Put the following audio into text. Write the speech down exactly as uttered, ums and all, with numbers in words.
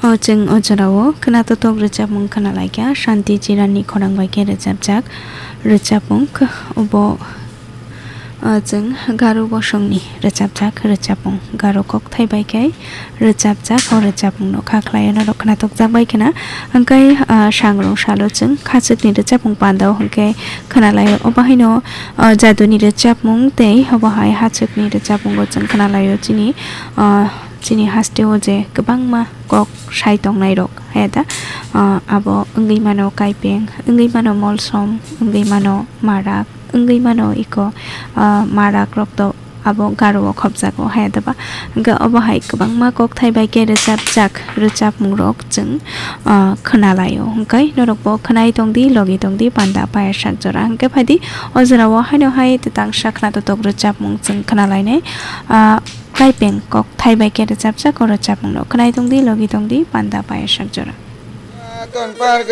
O chwng o jorao khwnatotok rwchapmung khwnalaikha, Shanti Chiranni khorang bai khe rwchapjak rwchapmung. Obo, o chwng Garo bosongni rwchapjak rwchapmung, Garo kokthai bai khe rwchapjak o rwchapmungno kha khlaio norok khwnatokjak bai khwna. Hwnkhe, ah, sangrong salo chwng khachukni rwchapmung pandao hwnkhe khwnalaio. Obo haino, ah, jaduni rwchapmung tei obo hai hachukni rwchapmungo chwng khwnalaio chini, ah, chini hasteo je kwbangma kok sai tongnairok, haya da, ah, abo wngwi mano kaipeng, wngwi mano molsom, wngwi mano marak, wngwi mano iko, ah, marak rok to abo Garo o khopjago, haya da ba. Hwnkhe obo hai kwbangma kokthai bai khe rwchapjak rwchapmung rok chwng, ah, khwnalaio. Hwnkhe norok bo khwnai tongdi, logi tongdi, panda paya sak jora. Hwnkhe phaidi o jorao haino hai twtangsa khwnatotok rwchapmung chwng khwnalainai. Ah, Kaipeng kokthai bai khe rwchapjak o rwchapmungno khwnai tongdi, logi tongdi, panda paya sak jora.